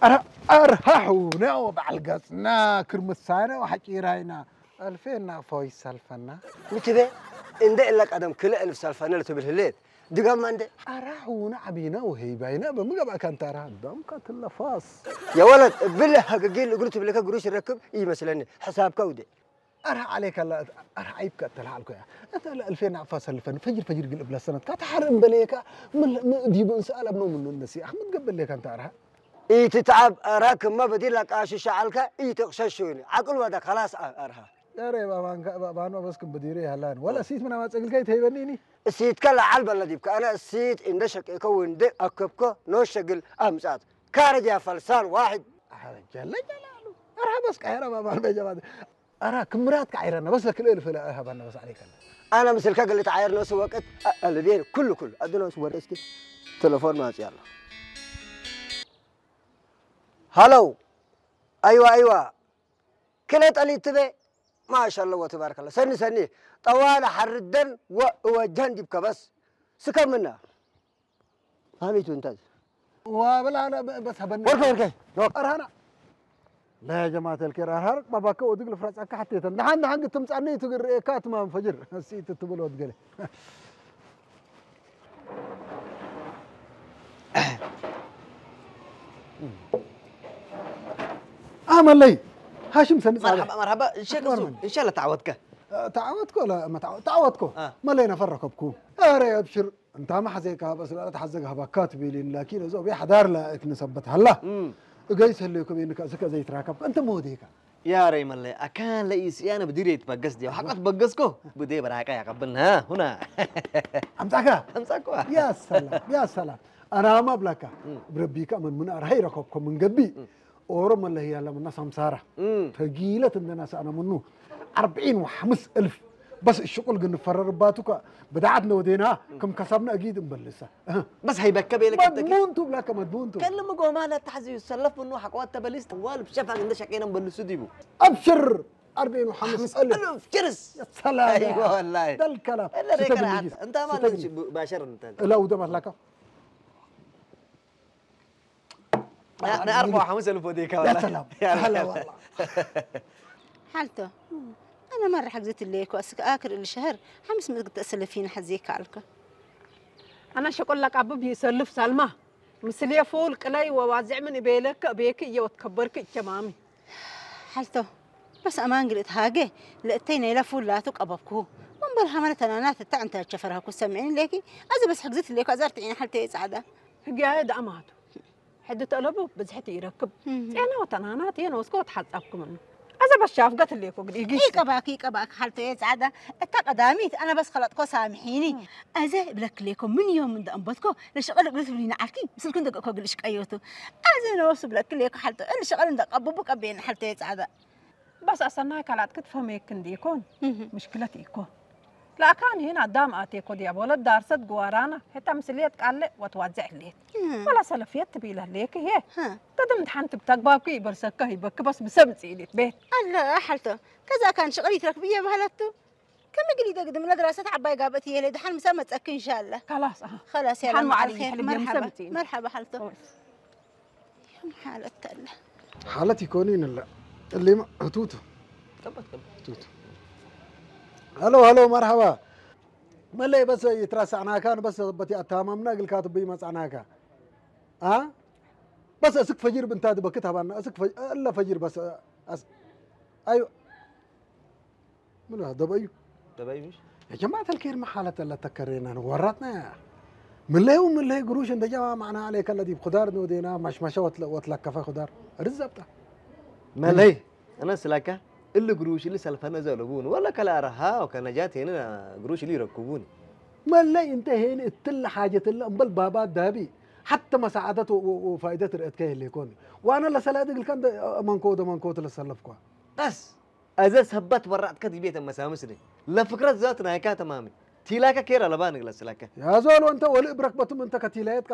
ኣረ ኣርሃ ሑነ ወበዓል ገጽና ክርምሳነ ወሓጪራይና ኣልፌና ፎይ ሰልፈና። ምትበ እንደ እለ ቀደም ክልእ እልፍ ሰልፈነ ልትብል ህሌት ድጋማ እንደ ኣራ ሑነ ዓቢና ወሄይባይና በምገባእካ እንተ ኣራ ደምካ ትለፋስ። የወለድ እብል ሀገጌል እግሩ ትብልከ ግሩሽ ረክብ ይመስለኒ ሕሳብካ ውደ። ኣራ ዓሌካ ኣላ ኣራ ዓይብካ እተልዓልኮ እያ። እተ ለእልፌና ኣፋ ሰልፈን ፈጅር ፈጅር ግል እብላ ሰነትካ ተሓር እምበለየካ ዲቡ እንስኣል ኣብኖ ምኑ እነሲ ኣኽምት ገበለካ እንተ ኣርሃ ኢትትዓብ ኣርሃ ክመ በዲር ላቃሽሽ ዓልካ ኢትቕሸሽ ሹኒ ዓቅል ወዳ ከላስ ኣርሃ። ያሬ ባባንካ ባባኖ በስክም በዲሬ ያላን ወላ ሲት ምናማ ጸግልካ ይተይበኒኒ። እሲትከ ለዓል በለ ዲብከ ኣነ እሲት እንደ ሸቄከ ወንደ ኣከብከ ኖ ሸግል ኣምጻት ካረጅ ያ ፈልሳን ዋሕድ። ጀለ ጀላሉ ኣርሃ በስካ ያራ ባባን በጀባት ኣራ ክምራትካ ዓይረና በስ ለክልእል ፍለ ሃባና በስ ዓለይከና። ኣነ ምስልካ ገለ ተዓየር ነሱ ወቅት ኣልቤን ኩሉ ኩሉ ኣድነሱ ወደ እስኪ ተለፎን ማጽ ያለ። ሃሎ። ኣይዋ ኣይዋ። ክለ ጠሊት ትበ ማሻላ ወተባረከላ ሰኒ ሰኒ ጠዋለ ሓርደን ወእወጃን ዲብ ከበስ ስከምና ፋሚቱ እንታዝ ዋብላ በስ ሀበና ወርከ ወርከ። ኣርሃና لا يا جماعة الخير أرهرك باباك ودق الفرس أكا حتى تندحن دحن قد تمسعني تقر إيكات ما انفجر نسيت تبلو تقلي. ኣመለይ ሃሽም ሰኒ ጻለ። መርሓባ መርሓባ። ሸክ እሱ እንሻላ ተዓወትካ። ተዓወትኮ ላ መታዓወ ተዓወትኮ። መለይ ነፈረከብኩ። ኣረ ኣብሽር እንታ ማሕዘካ በስ ላ ተሓዘጋ ሃባካ ትቢሊን ላኪን እዞ ቢ ሓዳር ላ እትንሰበት ሃላ። እገይ ሰለይኮ ቤንካ እስከ ዘይትራከብ እንተ መወደይካ። يا ريم الله أكان لئيس أنا بديري يتبقس دي وحقت بقسكو بدي براكا يا قبلنا هنا. ኣምጻካ ኣምጻኳ። يا سلام يا سلام. ኣና ማብላካ ብረቢካ መን ምን ኣርሃ ይረከብኮ ምን ገቢ ኦሮ መለህ ያለ ምና ሳምሳራ ተጊለት እንደና ሰኣና ምኑ ኣርብዒን ወሓምስ እልፍ በስ ሽቁል ግን ፈረርባቱካ ብድዓት ነወዴና ከም ከሳብና እጊድ እንበልሳ። بس هيبكى بيلك التكي مدمون تو بلاك مدمون تو كلم قوما لا تحزي يسلف منه حقوات تبليس طوال بشفا عند شقينا مبلسو ديبو أبشر أربعين وخمس ألف ألف جرس. يا سلام. أيوة والله. ده الكلام. إلا ريك ستة راحت. أنت ما ستة باشر أنت. لا وده مطلقة. أنا أربعة وخمس ألف وديك يا سلام. هلا والله. حالته. أنا مرة حجزت الليك وأسك آكر الشهر خمس مدة أسلفين حزيك عليك. أنا شكل لك أبو بيسلف سلمى. ምስልየ ፉል ቅለይ ወዋዝዕ ምን እቤለክ እቤክ እየ ወትከበርክ እቸማሚ። ሓልቶ በስ ኣማን ግልእት ሃገ ለእተይ ነይለ ፉል ላቱ ቀበብኩሁ። ወንበር ሃመነ ተናናት እታ ዕንተ ቸፈርሃኩ ሰምዒን ሌኪ ኣዚ በስ ሕግዝት ሌኩ ኣዛር ትዒን ሓልተየ ጻዕዳ። ህግያየ ደኣማቱ ሕዲ ተለቡ ብዝሕቲ ይረክብ። ጼና ወተናናት የን ወስኮ ወትሓጻብኩ ምኑ። ኣዘ በሻፍ ገትሌኮ ግዲ ኢጊስ። ይቀባክ ይቀባክ ሓልቶ እየ ጻዕዳ። እታ ቀዳሚት ኣነ በስ ከለጥኮ ሳምሒኒ። ኣዘ ብለክሌኮ ምን እዮም እንደ ኣንበትኮ ለሸቐል እግሪ ትብሊና ዓልኪ ምስልኩ እንደ ገእኮ ግልሽ ቀዮቱ። ኣዘ ነወሱ ብለክሌኮ ሓልቶ እን ሸቐል እንደ ቀቡቡ ቀቤን ሓልቶ እየ ጻዕዳ። በስ ኣሰናይ ካላት ክትፈመየክ እንዲኮን ምሽክለት ኢኮ። ላካን ሄን ኣዳም ኣቴኮ ዲያቦለት ዳርሰት ግዋራና ሄታ ምስልየት ቃለ ወትዋዘዕ ህሌት። ወላ ሰለፍየት ትቢለ ህሌክ ሄ። ተድም ድሓን ትብተግባብኪ ይበርሰካ ሂበክ በስ ብሰብ ጽኢሊት ቤት። ኣለ ሓልቶ ከዛ ካን ሽቕል ይትረክብየ ባህለቱ። ከመ ግሊ ደግድም ለድራሰት ዓባይ ጋበት የለ ድሓን ምሳ መጸክ እንሻላ። ካላስ ኣሃ። خلاص يا ድሓን መዓል ይሕልብ መርሓባ። መርሓባ ሓልቶ። ሓለት ኣለ ሓለት ይኮኑ ይንለ እሊማ ህቱቱ ቱቱ ሃሎ ሃሎ መርሓባ መለይ በሰ ይትራሳዕናካን በሰ በቲ ኣታማምና ግልካ ትብይ መጻዕናካ ኣ በሰ እስክ ፈጅር ብንታ ድበክት ሃባና እስክ ፈ- እለ ፈጅር በሰ ኣስ- ኣዩ ምን ደበዩ ደበይ ምሽ يا جماعة الخير ما حالة لا تكرينا ورطنا يا من لا يوم من لا قروش انت جماعة معنا عليك الذي بخضار نودينا مشمشة وتل- وتلكفة خضار رزبطة መለይ እነስ ላካ እሊ ግሩሽ እሊ ሰልፈነ ዘለቡን ወላ ከላ ረሃ ወከነጃት ሄነ ግሩሽ እሊ ይረክቡን መለይ እንተ ሄን እትል ሓጀት እለ እምበል ባባ ዳቢ ሓተ መሳዓደት ወ- ወ- ወፋይደት ርእትከ የለ ይኮን ዋነ ለሰላዲ ግልካ እንደ መንኮ ወደ መንኮ ትለሰለፍኳ በስ ኣዘ ሰበት በራጥከ ዲቤተ መሳምስኒ ለፍክረት ዛት ናይካ ተማሚ ቲላከ ኬር ኣለባ ንግለስለከ يا زول وانت ولي بركبتم انت كتيلايت